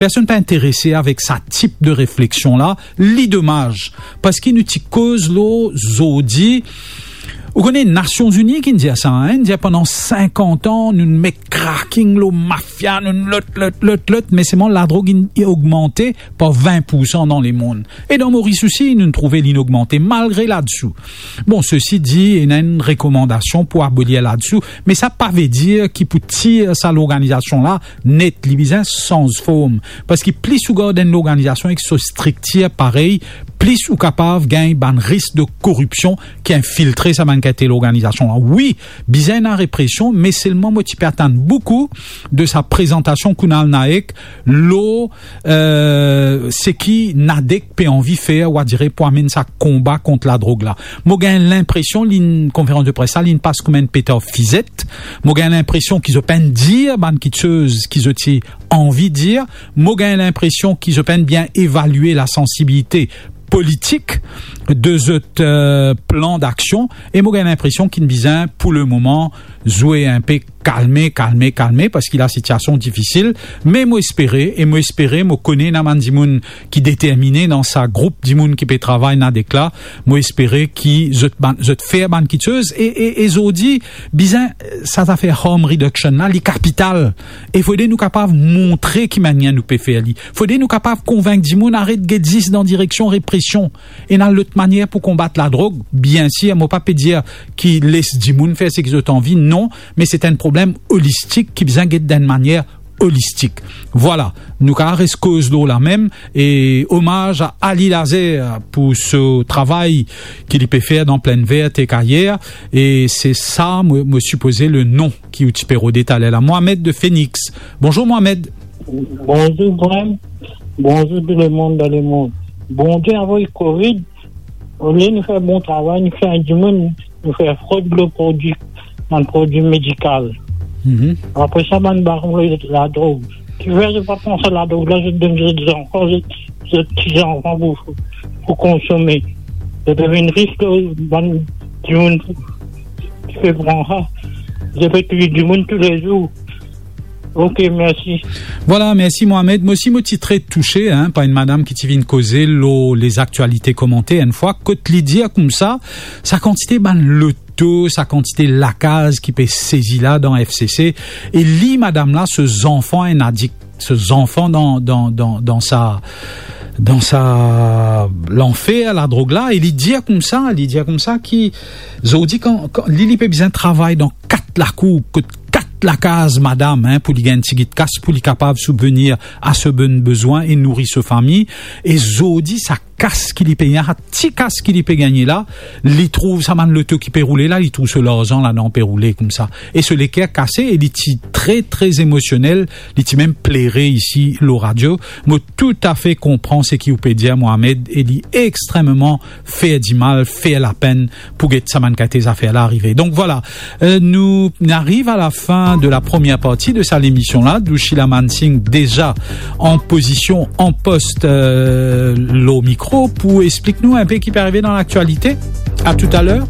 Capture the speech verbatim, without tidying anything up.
Personn pa interese avek sa tip de refleksion la, li domaz, parski nou ti koz lor zordi, ou kone Nasion Zini ki'nn dir sa, hein, dir pandan sinkant an, nou'nn met cracking lor mafia, nou'nn lot, lot, lot, lot, me selman ladrog inn ogmante par vin poursan dan lemond. E dan Moris osi, nou'nn trouve li'nn ogmante malgre ladsou. Bon, sesi di, ena enn rekomandasion pou abolir ladsou, me sa pa ve dir ki pou tir sa lorganizasion la net, li bizin sanz form. Parski plis ou gard enn lorganizasion ek so striktir parey, plis ou kapav gagn bann risk de koripsion ki infiltre sa bann ki ete lorganizasion la. Wi, bizin ena represion, me selman mo ti pe atann boukou de sa prezantasion Kunal Nayak lor, eh, seki NADEC pe anvi fer, ou adire pou amenn sa konba kont ladrog la. Mo gagn linpresion, li'nn, konferans de pres la, li'nn pas kouma enn petar fizet. Mo gagn linpresion ki zot pa'nn dir bann kiksoz ki zot ti anvi dir. Mo gagn linpresion ki zot pa'nn bien evalie lasansibilite politik de zot, eh, plan daksion. E mo gagn linpresion ki'nn bizin, pou lemoman, zwe inpe kalme, kalme, kalme, parski lasitiasion difisil. Me mo espere, e mo espere, mo kone ena bann dimoun ki determine dan sa group dimoun ki pe travay NADEC la, mo espere ki zot bann, zot fer bann kiksoz. E, e, e zordi, bizin, eh, sa zafer harm reduction la, li kapital. E fode nou kapav montre ki manier nou pe fer li. Fode nou kapav konvink dimoun aret get zis dan direksion represion. Ena lot manier pou konbat ladrog, biensir, mo pa pe dir ki les dimoun fer seki zot anvi, non, me se enn problem olistik ki bizin get dan enn manier olistik. Vwala, nou kapav res koz lor la mem, e omaz a Ali Lazer pou so travay ki li pe fer dan Plaine Verte ek ayer, e se sa, mo, mo sipoze, le non ki ou ti pe rode taler la. Mohamed de Phoenix. Bonzour, Mohamed. Bonzour, Graham. Bonzour, tou lemond dan lemond. Bondie avoy Covid, olie nou fer bon travay, nou fer dimoun, nou fer frod lor prodwi, bann prodwi medikal. Mhm. Apre sa, bann baron ladrog. Kifer zot pa pran sa ladrog la, zot donn zot zanfan, zot, zot ti zanfan pou, pou konsome. Zot vinn ris lor bann dimoun ki pe pran sa. Zot pe touy dimoun toulezour. Ok, mersi. Vwala, mersi Mohamed. Mo osi mo ti tre touse, hein, par enn madam ki ti vinn koze lor Lezaktialite Komante enn fwa, kot li dir koumsa, sa kantite bann loto, sa kantite lakaz ki pe sezi la dan F C C, e li, madam la, so zanfan enn adik, so zanfan dan, dan, dan, dan sa, dan sa lanfer ladrog la, e li dir koumsa, li dir koumsa ki, zordi, kan, kan li, li pe bizin travay dan kat lakour, kot kat lakaz madam, hein, pou li gagn tigit kas, pou li kapav sibvenir a so bann bezwin e nouri so fami. E zordi, sa kas ki li pe gagn, sa ti kas ki li pe gagne la, li trouv sa bann loto ki pe roule la, li trouv so larzan ladan pe roule koumsa. E so leker kase, e li ti tre, tre emosionel, li ti mem plere isi lor radio. Mo toutafe konpran seki ou pe dir, Mohamed, e li extrememan fer dimal, fer lapenn pou get sa bann kalite zafer la arive. Donk vwala, euh, nou ariv a la fin de la première partie de sa lemision la. Doushila Mansingh deza an pozision, an post, euh, lor mikro pou explik nou inpe ki pe arive dan laktialite. A toutaler.